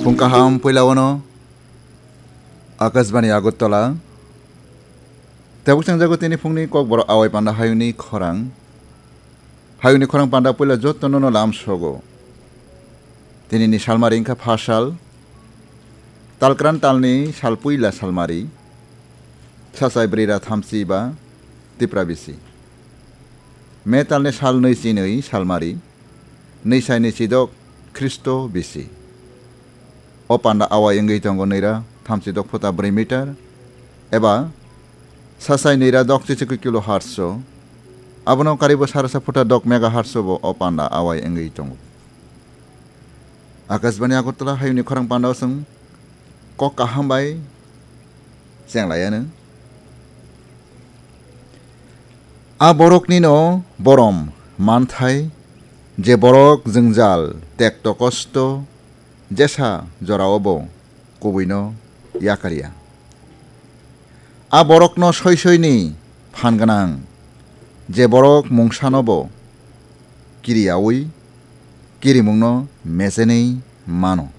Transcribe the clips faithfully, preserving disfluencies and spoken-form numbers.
Phung kaham puila wano Akashbani Agartala. Tabuk changjago tini phungni kokborok awai panda hayungni khorang. Hayungni khorang panda puila jotono no lam sogo. Tini ni salmari wngkha phasal. Talkran talni sal puila salmari. Sasai brira thamsi ba Tipra bisi. Me talni sal nui chinui salmari. Nui sai nui chidok Khristo bisi. O panda awai wngwi tongo nui ra thamsi dok phuta brwi meter eba sasai nui ra dok chichikwi kilo hertz o. Abono karibo sarasa phuta dok megahertz o bo o panda awai wngwi tongo. Akashbani Agartala hayungni khorang panda o chwng kok kaham bai chenglai anw. A boroknino borom manthai, je borok jwngjal, tekto kosto, jesa jorao bo kubuino yakarya. A borokno soi soini phan gwnang, je borok mungsano bo kiriyaui kirimungno mechenwi mano.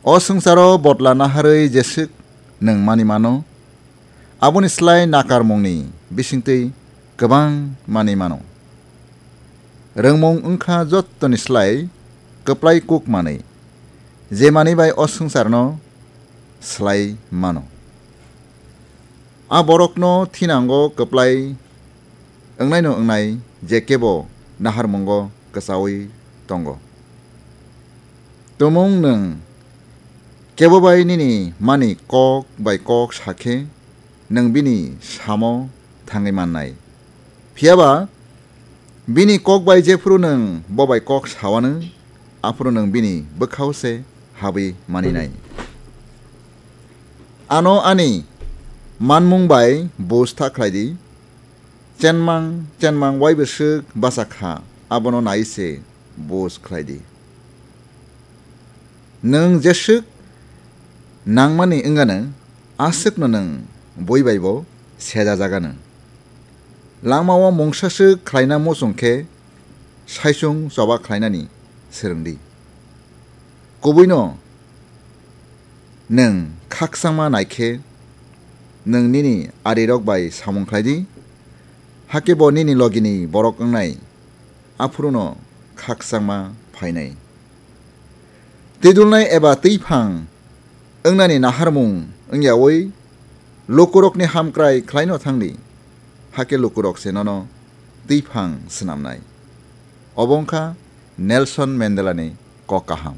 O swngcharo botla naharwi jeswk nwng mani mano, aboni slai nakarmungni bisingtwi kwbang manwi mano. Rwngmung wngkha jottoni slai kwplai kuk manwi, je manwi bai o swngcharno slai mano. A borokno thinango kwplai wngnaino wngnai, je kebo naharmungo kwchaui tongo. Tumung nwng kebo bai nini mani kok bai kok sa khe, nwng bini samo thangwi mannai. Phiya ba bini kok bai jephuru nwng bo bai kok sa anw, aphuru nwng bini bwkhao se habwi maninai. Ano ani manmung bai buj ta khlai di, chenmang chenmang waibo swk bacha kha, abono nai se buj khlai di. Nwng jeswk nangmani wng anw, aswkno nwng bui bai bo sejajak anw. Langmao mungsa swk khlaina muchung khe saichung choba khlainani swrwng di. Kubuino nwng khakchangma nai khe, nwng nini arirok bai samung khlai di, hakhe bo nini logini borok wngnai, aphuruno khakchangma phainai. Twidulnai eba twiphang wngnani naharmung wngyaui lukurokni hamkrai khlaino thang di, hakhe lukurok se nono twiphang snamnai. Obo wngkha Nelson Mandelani kok kaham.